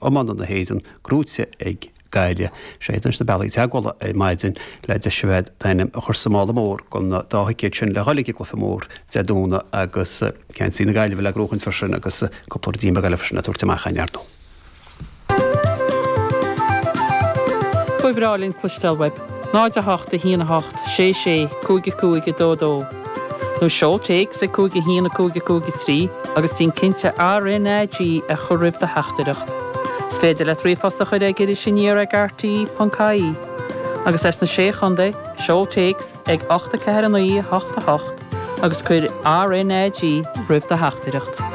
Iomána na hÉireann gnóite ag Gaillimh. Seo iad anois na bealaí teagmhála ar maidin le deis a bheith d'ainm a chur sa mála mór don dá thicéad sin le dhul ag an gcluiche mór Dé Domhnaigh agus geansaí na Gaillimhe le gnóchaint freisin agus cúpla ruidín beag eile freisin le tabhairt amach againn ar ndóigh. Ba bhreá linn cloisteáil uaibh. 0 8 1 8 6 6 5 5 2 2 Nó seol téacs ag 5 1 5 5 3 agus déan cinnte RnaG a chur roimh do theachtaireacht. Is féidir leat ríomhphost a chur ag irisaniar ag rte.ie. Agus as na Sé Chontae, seol téacs ag 8 4 9 8 8 agus cuir RnaG roimh do theachtaireacht.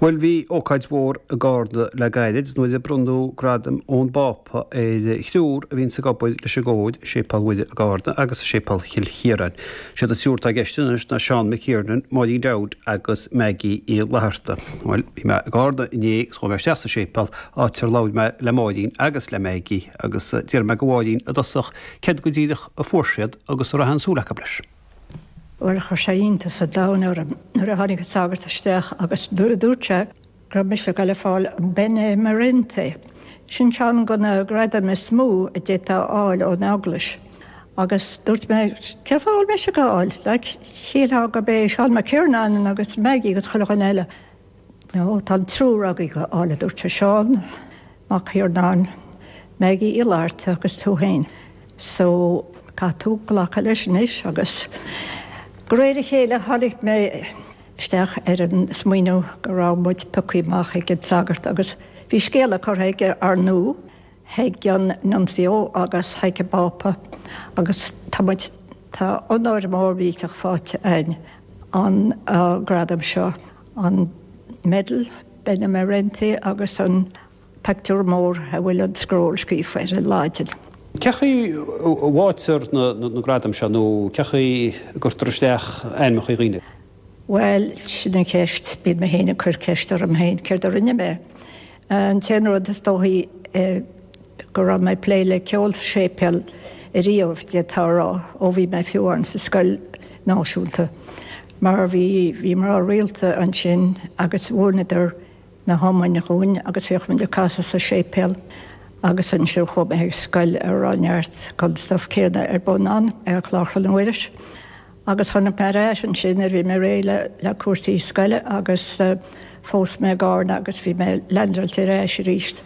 Bhuel, bhí ócáid mhór i gCarna le gairid nuair a bronnadh gradam ón bPápa ar thriúr a bhíonns ag obair leis an gcór i Séipéal Mhuire i gCarna agus i Séipéal Chill Chiaráin. Siad an triúr atá i gceist anois ná Seán McKiernan, Máirín Dowd agus Maggie Uí Fhlatharta. Bhuel, bhí mé i gCarna inné agus chuaigh mé isteach sa séipéal, áit ar labhair mé le Máirín agus le Maggie agus d'iarr mé de Mháirín i dtosach céard go díreach a fuair siad agus a raibh aon súil acu leis. Bhuel, chuir sé iontas an domhain orm nuair a tháinig an sagart isteach agus nuair a dúirt sé go raibh mise ag dul a fáil an Benemerenti. Sin ceann de na gradaim is mó a d'fhéadfá a fháil ón Eaglais. Agus dúirt mé, cén fáth a bhfuil mise ag fáil? Like, shílfeá gurb é Seán McKiernan agus Maggie agus chuile dhuine eile. No, tá an triúr agaibh á fháil, a dúirt sé, Seán Mac Thiarnáin, Maggie Uí Fhlatharta agus tú féin. So, caithfidh tú glacadh leis anois agus de réir a chéile tháinig mé isteach ar an smaoineamh go raibh muid pioctha amach ag an sagart agus bhí scéala curtha aige ar ndóigh chuig an Nuncio agus chuig an bPápa agus tá muid, tá onóir mór mhillteach faighte againn an gradam seo, an medal Benemerenti agus an pictiúr mór a bhfuil an scról scríofa air i Laidin. Cé chaoi a bhfaightear na gradaim seo nó cé chaoi a gcuirtear isteach ainmneacha dhaoine? Bhuel, sin an cheist. Bíonn mé féin ag cur ceist orm féin, céard a rinne mé? An t-aon rud is dóichí go raibh mé ag plé le ceol sa séipéal ariamh, d'fhéadfá a rá, ó bhí mé fiú amháin sa scoil náisiúnta, mar bhí, bhí mná rialta ansin agus mhúineadar na hiomainn dhúinn agus bhíodh muid ag casadh sa séipéal agus ansin chuaigh mé chuig scoil a raibh neart den stuif céanna ar bun ann, ar Chlár Chlann Mhuiris. Agus tháinig mé ar ais ansin nuair a bhí mé réidh le le cúrsaí scoile agus phós mé i gCarna agus bhí mé leaindeáilte ar ais arís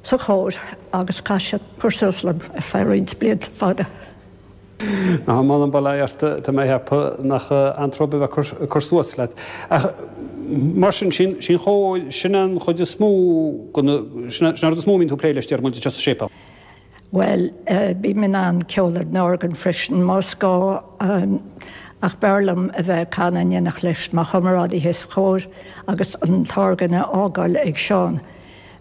sa chór agus chaith siad cur suas liom ar feadh roinnt blianta fada. Á, m'anam bail ó Dhia ort, tá mé a cheapadh nach antró a bheith ag cur suas leat. Ach mar sin, sin an chóir, sin an chuid is mó, sin an rud is mó a mbíonn tú ag plé leis, deir muid anseo sa séipéal. Bhuel, bím in ann ceol ar an orgán freisin, más gá, ach b'fhearr liom a bheith ag canadh in éineacht leis mo chomrádaithe sa chór agus an t-orgán a fhágáil ag Seán,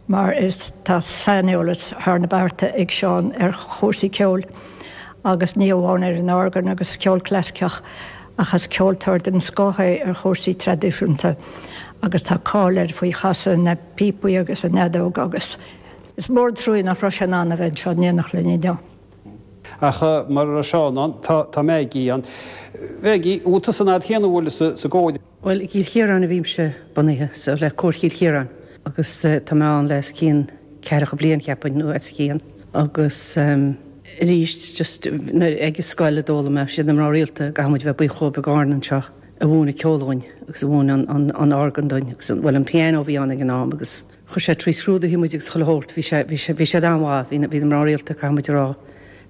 mar is tá saineolas thar na bearta ag Seán ar chúrsaí ceoil, agus ní amháin ar an orgán agus ceol clasaiceach, ach is ceoltóir den scoth é ar chúrsaí traidisiúnta agus tá cáil air faoi chasadh na bpíopaí agus an fheadóg agus. Is mór an trua nach raibh sé in ann a bheith anseo in éineacht linn inniu. Ach mura raibh Seán ann, tá Maggie ann. Maggie, an bhfuil tusa an fhad chéanna a bhfuil sa gcór? Bhuel, i gCill Chiaráin a bhímse bunaithe, so le Cór Chill Chiaráin, agus tá mé ann le os cionn ceathracha bliain, cheapfainn, nó os cionn. Agus arís, just nuair ag an scoil a d'fhoghlaim mé, siad na mná rialta, caithfidh muid a bheith buíoch dhóibh i gCarna anseo, a mhúin an ceol dhúinn agus a mhúin an orgán dúinn agus, bhuel, an piano a bhí ann ag an am agus, Chuir sé trí scrúduithe muid agus chuile shórt, bhí sé, bhí sé, bhí siad an-mhaith, bhí na, bhí na mná rialta, caithfidh muid a rá,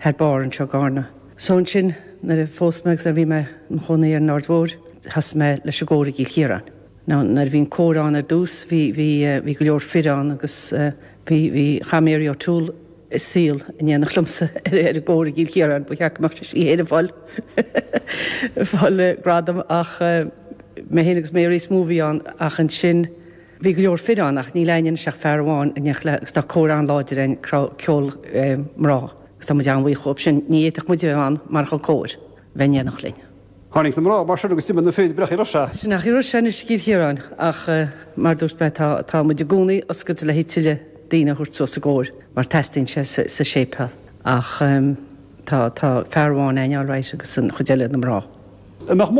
thar barr anseo i gCarna. So ansin, nuair a phós mé agus nuair a bhí mé i mo chónaí ar an Aird Mhóir, thosaigh mé leis an gcór i gCill Chiaráin. Now, nuair a bhí an cór ann ar dtús, bhí, bhí, bhí go leor fir ann agus bhí, bhí, chaith Mary O'Toole a saol in éineacht liomsa ar, ar an gcór i gCill Chiaráin, ba cheart go mbeadh sí féin ag fáil, ag fáil gradam ach mé féin agus Mary is mó a bhí ann ach ansin, Bhí go leor fir ann ach níl againn anois ach fear amháin in éineacht le agus tá cór an-láidir againn, ceol mná agus tá muid an-bhuíoch dhóibh sin. Ní fhéadfadh muid a bheith ann marach an cór a bheith in éineacht linn. Tháinig na mná mar sin agus d'imigh na fir, breac ar sé. Sin é chaoi a raibh sé anois i gCill Chiaráin ach mar a dúirt mé tá tá muid i gcónaí oscailte le haghaidh tuilleadh daoine a thabhairt suas sa gcór mar teastaíonn sé sa séipéal ach tá tá fear amháin againn alright agus an chuid eile na mná. An mbeadh mórán.